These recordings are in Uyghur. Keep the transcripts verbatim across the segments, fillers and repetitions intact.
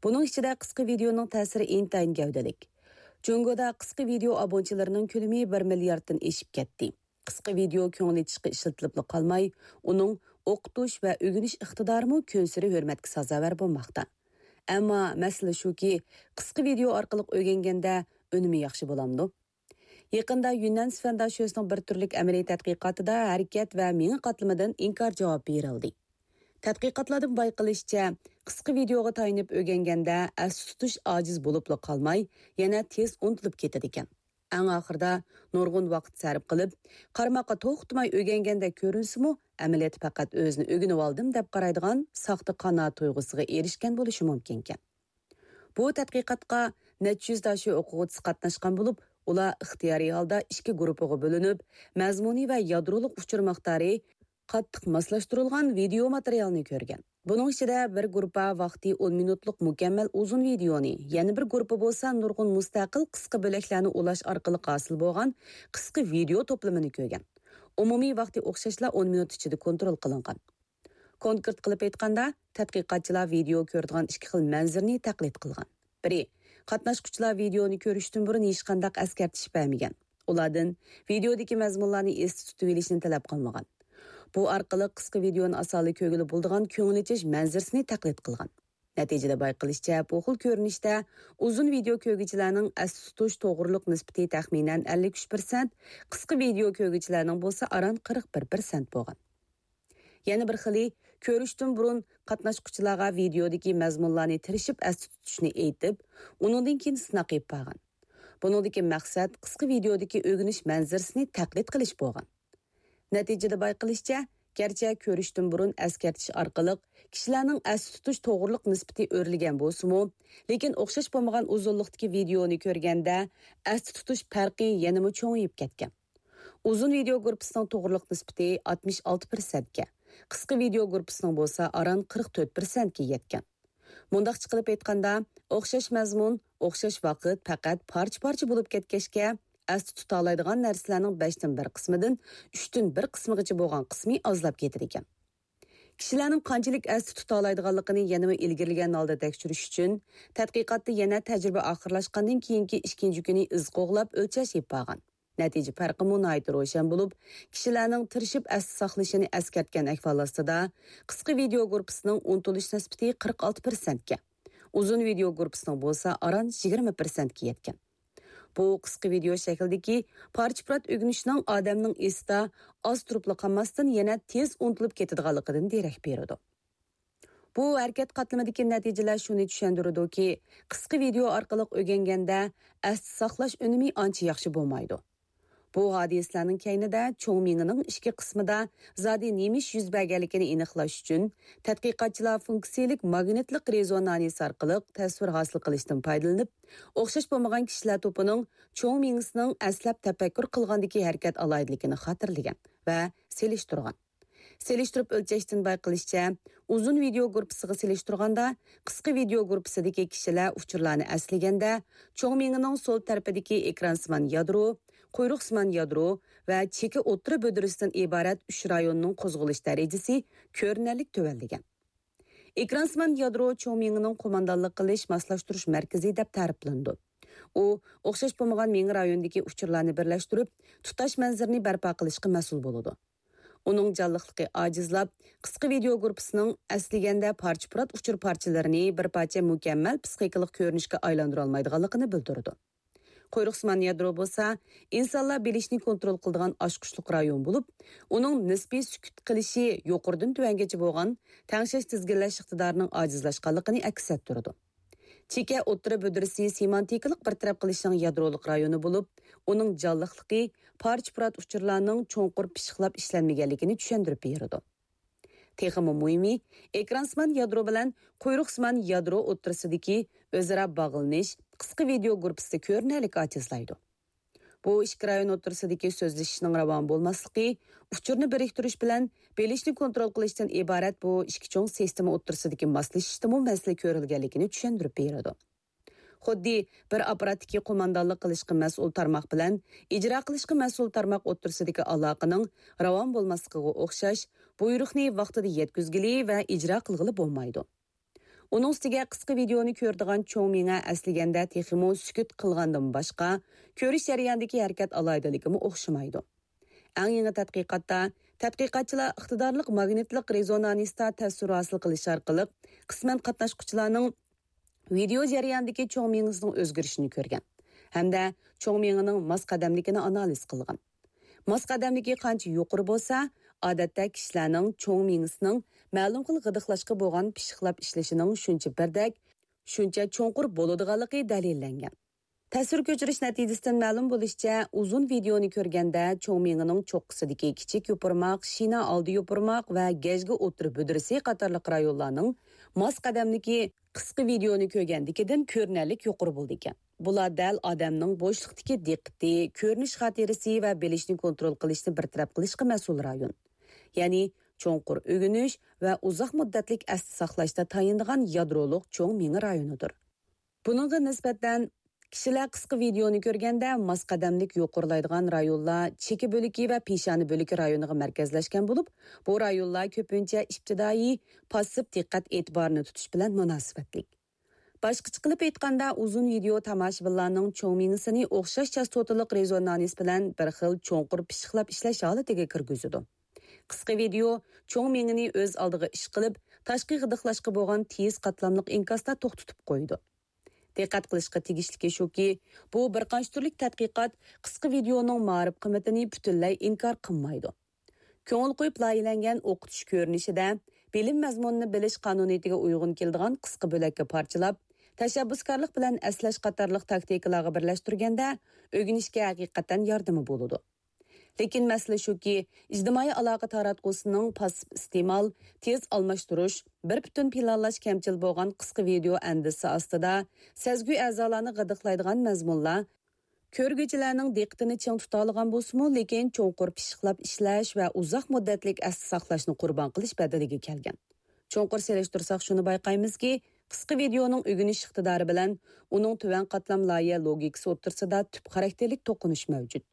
بۇنىڭ ئىچىدە قىسقا ۋىدېئونىڭ تەسىرى ئىنتايىن گەۋدىلىك. جۇڭگودا قىسقا ۋىدېئو ئابۇنىچىلىرىنىڭ كۆلىمى بىر مىلياردتىن ئېشىپ كەتتى. قىسقا ۋىدېئو كۆڭۈل ئېچىشقا ئىشلىتىلىپلا قالماي، ئۇنىڭ ئوقۇتۇش ۋە ئۆگىنىش ئىقتىدارىمۇ كۈنسېرى ھۆرمەتكە سازاۋەر بولماقتا. ئەمما مەسىلە شۇكى، قىسقا ۋىدېئو ئارقىلىق ئۆگەنگەندە ئۈنۈمى ياخشى بولامدۇ؟ يېقىندا يۈننەن سۈفەن داشۆسىنىڭ بىر تۈرلۈك ئەمەلىي تەتقىقاتىدا ھەرىكەت ۋە مېڭە قاتلىمىدىن ئىنكار جاۋابى بېرىلدى. تەتقىقاتلاردىن بايقىلىشىچە، قىسقا ۋىدېئوغا تايىنىپ ئۆگەنگەندە ئەستە تۇتۇش ئاجىز بولۇپلا قالماي، يەنە تېز ئۇنتۇلۇپ كېتىدىكەن. ئەڭ ئاخىرىدا نۇرغۇن ۋاقىت سەرپ قىلىپ، قارىماققا توختىماي ئۆگەنگەندەك كۆرۈنسىمۇ، ئەمەلىيەتتە پەقەت ئۆزىنى ئۆگىنىۋالدىم دەپ قارايدىغان ساختا قانائەت تۇيغۇسىغا ئېرىشكەن بولۇشى مۇمكىنكەن. بۇ تەتقىقاتقا نەچچە يۈز داشۆ ئوقۇغۇچىسى قاتناشقان بولۇپ، ئۇلار ئىختىيارىي ھالدا ئىككى گۇرۇپپىغا بۆلۈنۈپ، مەزمۇنى ۋە يادرولۇق ئۇچۇر مىقدارى قاتتىق ماسلاشتۇرۇلغان ۋىدېئو ماتېرىيالنى كۆرگەن. بۇنىڭ ئىچىدە بىر گۇرۇپپا ۋاقتى ئون مىنۇتلۇق مۇكەممەل ئۇزۇن ۋىدېئونى، يەنە بىر گۇرۇپپا بولسا نۇرغۇن مۇستەقىل قىسقا بۆلەكلەرنى ئۇلاش ئارقىلىق ھاسىل بولغان قىسقا ۋىدېئو توپلىمىنى كۆرگەن. ئومۇمىي ۋاقتى ئوخشاشلا ئون مىنۇت ئىچىدە كونترول قىلىنغان. كونكرېت قىلىپ ئېيتقاندا، تەتقىقاتچىلار ۋىدېئو كۆرىدىغان ئىككى خىل مەنزىرىنى تەقلىد قىلغان. بىرى، قاتناشقۇچىلار ۋىدېئونى كۆرۈشتىن بۇرۇن ھېچقانداق ئەسكەرتىش بەرمىگەن. ئۇلاردىن ۋىدېئودىكى مەزمۇنلارنى ئېستە تۇتۇۋېلىشنى تەلەپ قىلمىغان. بۇ ئارقىلىق قىسقا ۋىدېئونى ئاسانلا كۆرگىلى بولىدىغان كۆڭۈل ئېچىش مەنزىرىسىنى تەقلىد قىلغان. نەتىجىدە بايقىلىشىچە، بۇ خىل كۆرۈنۈشتە ئۇزۇن ۋىدېئو كۆرگۈچىلەرنىڭ ئەستە تۇتۇش توغرىلىق نىسبىتى تەخمىنەن ئەللىك ئۈچ پىرسەنت، قىسقا ۋىدېئو كۆرگۈچىلەرنىڭ بولسا ئاران قىرىق بىر پىرسەنت بولغان. يەنە بىر خىلى، كۆرۈشتىن بۇرۇن قاتناشقۇچىلارغا ۋىدېئودىكى مەزمۇنلارنى تىرىشىپ ئەستە تۇتۇشنى ئېيتىپ، ئۇنىڭدىن كېيىن سىناق ئېلىپ بارغان. بۇنىڭدىكى مەقسەت قىسقا ۋىدېئودىكى ئۆگىنىش مەنزىرىسىنى تەقلىد قىلىش بولغان. نەتىجىدە بايقىلىشىچە، گەرچە كۆرۈشتىن بۇرۇن ئەسكەرتىش ئارقىلىق كىشىلەرنىڭ ئەستە تۇتۇش توغرىلىق نىسبىتى ئۆرلىگەن بولسىمۇ، لېكىن ئوخشاش بولمىغان ئۇزۇنلۇقتىكى ۋىدېئونى كۆرگەندە ئەستە تۇتۇش پەرقى يەنىمۇ چوڭىيىپ كەتكەن. ئۇزۇن ۋىدېئو گۇرۇپپىسىنىڭ توغرىلىق نىسبىتى ئاتمىش ئالتە پىرسەنتكە، قىسقا ۋىدېئو گۇرۇپپىسىنىڭ بولسا ئاران قىرىق تۆت پىرسەنتكە يەتكەن. مۇنداقچە قىلىپ ئېيتقاندا، ئوخشاش مەزمۇن، ئوخشاش ۋاقىت پەقەت پارچە-پارچە بولۇپ كەتكەچكە، ئەستە تۇتالايدىغان نەرسىلەرنىڭ بەشتىن بىر قىسمىدىن ئۈچتىن بىر قىسمىغىچە بولغان قىسمى ئازلاپ كېتىدىكەن. كىشىلەرنىڭ قانچىلىك ئەستە تۇتالايدىغانلىقىنى يەنىمۇ ئىلگىرىلىگەن ھالدا تەكشۈرۈش ئۈچۈن، تەتقىقاتتا يەنە تەجرىبە ئاخىرلاشقاندىن كېيىنكى ئىككىنچى كۈنى ئىز قوغلاپ ئۆلچەش ئېلىپ بارغان. نەتىجە پەرقىمۇ ناھايىتى روشەن بولۇپ، كىشىلەرنىڭ تىرىشىپ ئەستە ساقلىشىنى ئەسكەرتكەن ئەھۋال ئاستىدا، قىسقا ۋىدېئو گۇرۇپپىسىنىڭ ئۇنتۇلۇش نىسبىتى قىرىق ئالتە پىرسەنتكە، ئۇزۇن ۋىدېئو گۇرۇپپىسىنىڭ بولسا ئاران يىگىرمە پىرسەنتكە يەتكەن. بۇ قىسقا ۋىدېئو شەكلىدىكى پارچە-پۇرات ئۆگىنىشنىڭ ئادەمنىڭ ئېسىدە ئاز تۇرۇپلا قالماستىن، يەنە تېز ئۇنتۇلۇپ كېتىدىغانلىقىدىن دېرەك بېرىدۇ. بۇ ھەرىكەت قاتلىمىدىكى نەتىجىلەر شۇنى چۈشەندۈرىدۇكى، قىسقا ۋىدېئو ئارقىلىق ئۆگەنگەندە ئەستە ساقلاش ئۈنۈمى ئانچە ياخشى بولمايدۇ. بۇ ھادىسىلەرنىڭ كەينىدە چوڭ مېڭىنىڭ ئىچكى قىسمىدا زادى نېمە ئىش يۈز بەرگەنلىكىنى ئېنىقلاش ئۈچۈن، تەتقىقاتچىلار فۇنكسىيىلىك ماگنىتلىق رېزونانس ئارقىلىق تەسۋىر ھاسىل قىلىشتىن پايدىلىنىپ، ئوخشاش بولمىغان كىشىلەر توپىنىڭ چوڭ مېڭىسىنىڭ ئەسلەپ تەپەككۇر قىلغاندىكى ھەرىكەت ئالاھىدىلىكىنى خاتىرىلىگەن ۋە سېلىشتۇرغان. سېلىشتۇرۇپ ئۆلچەشتىن بايقىلىشىچە، ئۇزۇن ۋىدېئو گۇرۇپپىسىغا سېلىشتۇرغاندا، قىسقا ۋىدېئو گۇرۇپپىسىدىكى كىشىلەر ئۇچۇرلارنى ئەسلىگەندە، چوڭ مېڭىنىڭ سول تەرىپىدىكى ئېكرانسىمان يادرو، قۇيرۇقسىمان يادرو ۋە چېكە ئوتتۇرا بۆدۈرىسىدىن ئىبارەت ئۈچ رايوننىڭ قوزغىلىش دەرىجىسى كۆرۈنەرلىك تۆۋەنلىگەن. ئېكرانسىمان يادرو چوڭ مېڭىنىڭ قوماندانلىق قىلىش، ماسلاشتۇرۇش مەركىزى دەپ تەرىپلىنىدۇ. ئۇ ئوخشاش بولمىغان مېڭە رايونىدىكى ئۇچۇرلارنى بىرلەشتۈرۈپ، تۇتاش مەنزىرىنى بەرپا قىلىشقا مەسئۇل بولىدۇ. ئۇنىڭ جانلىقلىقى ئاجىزلاپ، قىسقا ۋىدېئو گۇرۇپپىسىنىڭ ئەسلىگەندە پارچە-پۇرات ئۇچۇر پارچىلىرىنى بىر پارچە مۇكەممەل پسىخىكىلىق كۆرۈنۈشكە ئايلاندۇرالمايدىغانلىقىنى بىلدۈرىدۇ. قۇيرۇقسىمان يادرو بولسا ئىنسانلار بىلىشنى كونترول قىلىدىغان ئاچقۇچلۇق رايون بولۇپ، ئۇنىڭ نىسپىي سۈكۈت قىلىشى يۇقىرىدىن تۆۋەنگىچە بولغان تەڭشەش تىزگىنلەش ئىقتىدارىنىڭ ئاجىزلاشقانلىقىنى ئەكس ئەتتۈرىدۇ. چېكە ئوتتۇرا بۆدۈرىسى سېمانتىكىلىق بىر تەرەپ قىلىشنىڭ يادرولۇق رايونى بولۇپ، ئۇنىڭ جانلىقلىقى پارچە-پۇرات ئۇچۇرلارنىڭ چوڭقۇر پىششىقلاپ ئىشلەنمىگەنلىكىنى چۈشەندۈرۈپ بېرىدۇ. تېخىمۇ مۇھىمى، ئېكرانسىمان يادرو بىلەن قۇيرۇقسىمان يادرو ئوتتۇرىسىدىكى ئۆزئارا باغلىنىش قىسقا ۋىدېئو گۇرۇپپىسىدا كۆرۈنەرلىك ئاجىزلايدۇ. بۇ ئىككى رايون ئوتتۇرىسىدىكى سۆزلىشىشنىڭ راۋان بولماسلىقى، ئۇچۇرنى بىرىكتۈرۈش بىلەن بىلىشنى كونترول قىلىشتىن ئىبارەت بۇ ئىككى چوڭ سىستېما ئوتتۇرىسىدىكى ماسلىشىشتىمۇ مەسىلە كۆرۈلگەنلىكىنى چۈشەندۈرۈپ بېرىدۇ. خۇددى بىر ئاپپاراتتىكى قوماندانلىق قىلىشقا مەسئۇل تارماق بىلەن ئىجرا قىلىشقا مەسئۇل تارماق ئوتتۇرىسىدىكى ئالاقىنىڭ راۋان بولماسلىقىغا ئوخشاش، بۇيرۇقنى ۋاقتىدا يەتكۈزگىلى ۋە ئىجرا قىلغىلى بولمايدۇ. ئۇنىڭ ئۈستىگە قىسقا ۋىدېئونى كۆرىدىغان چوڭ مېڭە ئەسلىگەندە تېخىمۇ سۈكۈت قىلغاندىن باشقا، كۆرۈش جەريانىدىكى ھەرىكەت ئالاھىدىلىكىمۇ ئوخشىمايدۇ. ئەڭ يېڭى تەتقىقاتتا تەتقىقاتچىلار ئىقتىدارلىق ماگنىتلىق رېزونانستا تەسىر ھاسىل قىلىش ئارقىلىق قىسمەن قاتناشقۇچىلارنىڭ ۋىدېئو جەريانىدىكى چوڭ مېڭىسىنىڭ ئۆزگىرىشىنى كۆرگەن ھەمدە چوڭ مېڭىنىڭ ماس قەدەملىكىنى ئانالىز قىلغان. ماس قەدەملىكى قانچە يۇقىرى بولسا، ئادەتتە كىشىلەرنىڭ چوڭ مېڭىسىنىڭ مەلۇم خىل غىدىقلاشقا بولغان پىششىقلاپ ئىشلىشىنىڭ شۇنچە بىردەك، شۇنچە چوڭقۇر بولىدىغانلىقى دەلىللەنگەن. تەسۋىر كۆچۈرۈش نەتىجىسىدىن مەلۇم بولۇشىچە، ئۇزۇن ۋىدېئونى كۆرگەندە چوڭ مېڭىنىڭ چوققىسىدىكى كىچىك يوپۇرماق، شىنا ئالدى يوپۇرماق ۋە گەجگە ئوتتۇرا بۈدرىسى قاتارلىق رايونلارنىڭ ماس قەدەملىكى قىسقا ۋىدېئونى كۆرگەندىكىدىن كۆرۈنەرلىك يۇقىرى بولىدىكەن. بۇلار دەل ئادەمنىڭ بوشلۇقتىكى دىققىتى، كۆرۈنۈش خاتىرىسى ۋە بىلىشنى كونترول قىلىشنى بىر تەرەپ قىلىشقا مەسئۇل رايون. يەنى چوڭقۇر ئۆگىنىش ۋە ئۇزاق مۇددەتلىك ئەستە ساقلاشتا تايىنىدىغان يادرولۇق چوڭ مېڭە رايونىدۇر. بۇنىڭغا نىسبەتەن، كىشىلەر قىسقا ۋىدېئونى كۆرگەندە ماس قەدەملىك يۇقىرىلايدىغان رايونلار چېكە بۆلىكى ۋە پېشانە بۆلىكى رايونىغا مەركەزلەشكەن بولۇپ، بۇ رايونلار كۆپىنچە ئىپتىدائىي پاسسىپ دىققەت ئېتىبارىنى تۇتۇش بىلەن مۇناسىۋەتلىك. باشقىچە قىلىپ ئېيتقاندا، ئۇزۇن ۋىدېئو تاماشىبىنلارنىڭ چوڭ مېڭىسىنى ئوخشاش چاستوتىلىق رېزونانس بىلەن بىر خىل چوڭقۇر پىششىقلاپ ئىشلەش ھالىتىگە كىرگۈزىدۇ. قىسقا ۋىدېئو چوڭ مېڭىنى ئۆز ئالدىغا ئىش قىلىپ، تاشقى غىدىقلاشقا بولغان تېيىز قاتلاملىق ئىنكاستا توختىتىپ قويىدۇ. دىققەت قىلىشقا تېگىشلىكى شۇكى، بۇ بىر قانچە تۈرلۈك تەتقىقات قىسقا ۋىدېئونىڭ مائارىپ قىممىتىنى پۈتۈنلەي ئىنكار قىلمايدۇ. كۆڭۈل قويۇپ لايىھەلەنگەن ئوقۇتۇش كۆرۈنۈشىدە بىلىم مەزمۇنىنى بىلىش قانۇنىيىتىگە ئۇيغۇن كېلىدىغان قىسقا بۆلەككە پارچىلاپ، تەشەببۇسكارلىق بىلەن ئەسلەش قاتارلىق تاكتىكىلارغا بىرلەشتۈرگەندە، ئۆگىنىشكە ھەقىقەتەن ياردىمى بولىدۇ. لېكىن مەسىلە شۇكى، ئىجتىمائىي ئالاقە تاراتقۇسىنىڭ پاسسىپ ئىستېمال، تېز ئالماشتۇرۇش، بىر پۈتۈن پىلانلاش كەمچىل بولغان قىسقا ۋىدېئو ئەندىزىسى ئاستىدا سەزگۈ ئەزالارنى غىدىقلايدىغان مەزمۇنلار كۆرگۈچىلەرنىڭ دىققىتىنى چىڭ تۇتالىغان بولسىمۇ، لېكىن چوڭقۇر پىششىقلاپ ئىشلەش ۋە ئۇزاق مۇددەتلىك ئەستە ساقلاشنى قۇربان قىلىش بەدىلىگە كەلگەن. چوڭقۇر سېلىشتۇرساق، شۇنى بايقايمىزكى، قىسقا ۋىدېئونىڭ ئۆگىنىش ئىقتىدارى بىلەن ئۇنىڭ تۆۋەن قاتلام لايىھە لوگىكىسى ئوتتۇرىسىدا تۈپ خاراكتېرلىك توقۇنۇش مەۋجۇت.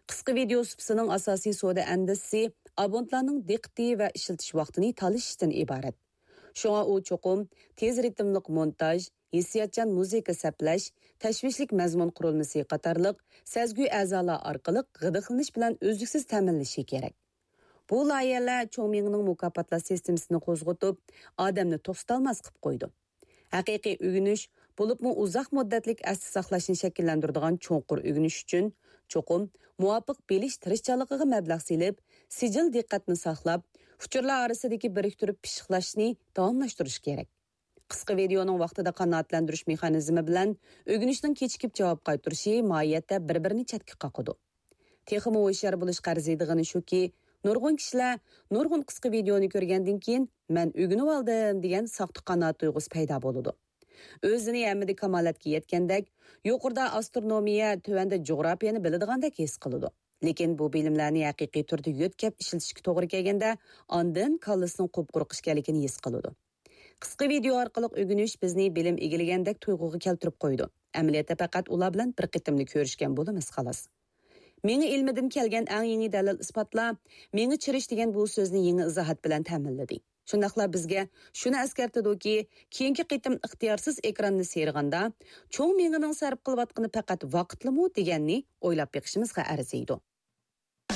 قىسقا ۋىدېئو سۇپىسىنىڭ ئاساسىي سودا ئەندىزىسى ئابونتلارنىڭ دىققىتى ۋە ئىشلىتىش ۋاقتىنى تالىشىشتىن ئىبارەت. شۇڭا ئۇ چوقۇم تېز رىتىملىق مونتاژ، ھېسسىياتچان مۇزىكا سەپلەش، تەشۋىشلىك مەزمۇن قۇرۇلمىسى قاتارلىق سەزگۈ ئەزالار ئارقىلىق غىدىقلىنىش بىلەن ئۈزلۈكسىز تەمىنلىشى كېرەك. بۇ لايىھەلەر چوڭ مېڭىنىڭ مۇكاپاتلاش سىستېمىسىنى قوزغىتىپ، ئادەمنى توختىتالماس قىلىپ قويىدۇ. ھەقىقىي ئۆگىنىش، بولۇپمۇ ئۇزاق مۇددەتلىك ئەستە ساقلاشنى شەكىللەندۈرىدىغان چوڭقۇر ئۆگىنىش ئۈچۈن، چوقۇم مۇۋاپىق بىلىش تىرىشچانلىقىغا مەبلەغ سېلىپ، سىجىل دىققەتنى ساقلاپ، ئۇچۇرلار ئارىسىدىكى بىرىكتۈرۈپ پىششىقلاشنى داۋاملاشتۇرۇش كېرەك. قىسقا ۋىدېئونىڭ ۋاقتىدا قانائەتلەندۈرۈش مېخانىزمى بىلەن ئۆگىنىشنىڭ كېچىكىپ جاۋاب قايتۇرۇشى ماھىيەتتە بىر-بىرىنى چەتكە قاقىدۇ. تېخىمۇ ھوشيار بولۇشقا ئەرزىيدىغىنى شۇكى، نۇرغۇن كىشىلەر نۇرغۇن قىسقا ۋىدېئونى كۆرگەندىن كېيىن، مەن ئۆگىنىۋالدىم دېگەن ساختا قانائەت تۇيغۇسى پەيدا بولىدۇ. ئۆزىنى ھەممىدە كامالەتكە يەتكەندەك، يۇقىرىدا ئاسترونومىيە، تۆۋەندە جۇغراپىيەنى بىلىدىغاندەك ھېس قىلىدۇ. لېكىن بۇ بىلىملەرنى ھەقىقىي تۈردە يۆتكەپ ئىشلىتىشكە توغرا كەلگەندە، ئاندىن كاللىسىنىڭ قۇپقۇرۇق ئىكەنلىكىنى ھېس قىلىدۇ. قىسقا ۋىدېئو ئارقىلىق ئۆگىنىش بىزنى بىلىم ئىگىلىگەندەك تۇيغۇغا كەلتۈرۈپ قويىدۇ. ئەمەلىيەتتە پەقەت ئۇلار بىلەن بىر قېتىملا كۆرۈشكەن بولىمىز، خالاس. مېڭە ئىلمىدىن كەلگەن ئەڭ يېڭى دەلىل-ئىسپاتلار مېڭە چىرىش دېگەن بۇ سۆزنى يېڭى ئىزاھات بىلەن تەمىنلىدى. شۇنداقلا بىزگە شۇنى ئەسكەرتىدۇكى، كېيىنكى قېتىم ئىختىيارسىز ئېكراننى سىيرىغاندا، چوڭ مېڭىنىڭ سەرپ قىلىۋاتقىنى پەقەت ۋاقىتلىمۇ دېگەننى ئويلاپ بېقىشىمىزغا ئەرزىيدۇ.